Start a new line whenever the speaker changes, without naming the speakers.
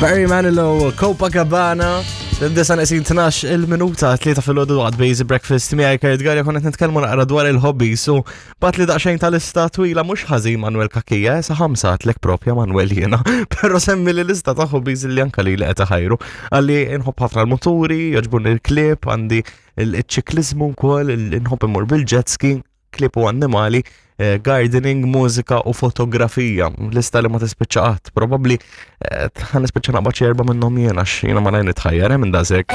Barry Manilow, Copacabana, Disa nesin 12 il-minuta, tlieta fil-ħodu għad Basic Breakfast miegħi Kurt Garja konna qed nitkellmu naqra dwar il-hobbies u bat li daqsxejn tal-lista twila mhux ħażin Manuel Kakija, sa ħamsa għatlek propja Manuel jiena, però semmi li lista ta' hobbies li anka li li qed ħajru. Għalli nħobb ħafna l-muturi, jogħġbuni l-klieb, għandi il-ċiklizmu wkoll, nħobb immur bil-jet ski, klieb u annimali, eh, gardening, mużika u fotografija. Lista li ma tispiċċa qatt. Probabbli eh, ħa nispiċċa naqbad xi erba' minnhom jiena għax jiena ma nitħajjar eh, minn daqshekk.